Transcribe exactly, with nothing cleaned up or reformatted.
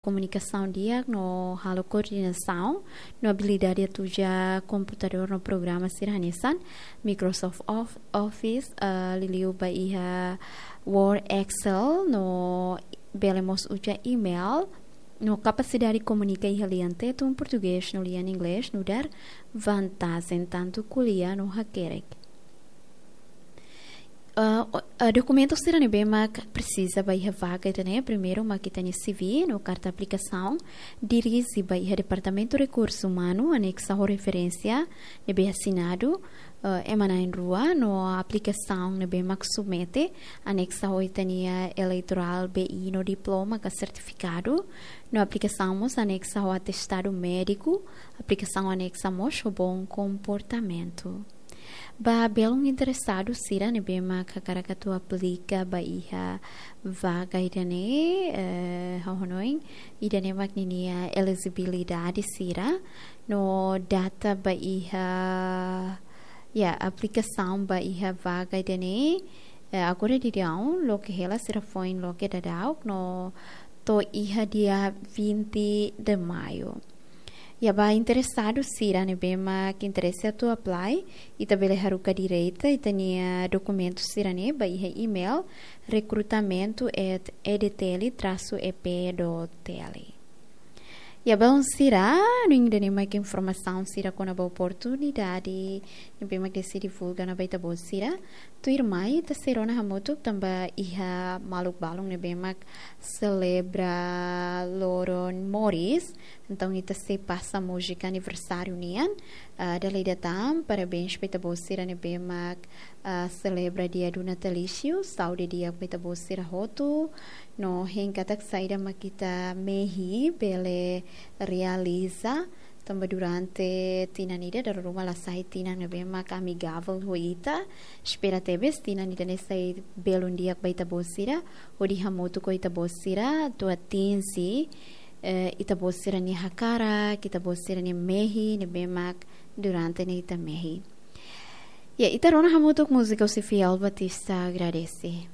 komunikasaun di'ak no halo koordenasaun no abilidade atu uza komputadór no programa sira hanesan Microsoft Of-, Office, eh, liuliu ba iha Word, Excel, no bele mós uza email, no kapasidade komunika iha lian Tetun, Portugés no lian Inglés nu'udar vantajen tantu ko'alia no hakerek. Ah, o-, ah, dokumentu sira ne'ebé mak presiza ba iha vaga ida-ne'e, primeiru mak ita-nia C V no karta aplikasaun, dirije ba iha Departamentu Rekursu Umanu, anexa ho referénsia ne'ebé asinadu, ah, ema na'in-rua, no aplikasaun ne'ebé mak submete, anexa ho ita-nia eleitorál B I no diploma ka sertifikadu, no aplikasaun mós anexa ho atestadu médiku, aplikasaun anexa mós ho bom komportamentu. Ba belun interesadu sira ne'ebé mak hakarak atu aplika ba iha vaga ida-ne'e, eh, ha'u hanoin, ida-ne'e mak ninia elejibilidade sira, no data ba iha, ya, aplikasaun ba iha vaga ida-ne'e, eh, agora daudaun, loke hela sira foin loke daudauk, no to'o iha dia vinte de maio. Ya, ba interesadu sira ne'ebé mak interese atu apply, ita bele haruka direta ita-nia dokumentu sira-ne'e ba iha email recrutamento at E D T L traço E P dot T L. Ya, belun sira, no ida-ne'e mak informasaun sira kona-ba oportunidade ne'ebé mak Desi divulga ona ba ita-boot sira. Tuirmai, ita sei rona hamutuk tanba iha maluk balun ne'ebé mak selebra loron moris. Entaun, ita sei pasa múzika aniversáriu nian. Ah, dala ida tan, parabéns ba ita-boot sira ne'ebé mak, ah, selebra dia do natalício. Saúde di'ak ba ita-boot sira hotu. No hein katak saida mak ita mehi bele realiza. Tanba durante tinan ida dala ruma la sai tinan ne'ebé mak amigavel ho ita. Espera tebes tinan ida-ne'e sai belun di'ak ba ita-boot sira, hodi hamutuk ho ita-boot sira atu atinje, eh, ita-boot sira-nia hakarak, ita-boot sira-nia mehi ne'ebé mak durante ne'e ita mehi. Ya, ita rona hamutuk múzika husi Fiel Batista, Agradece.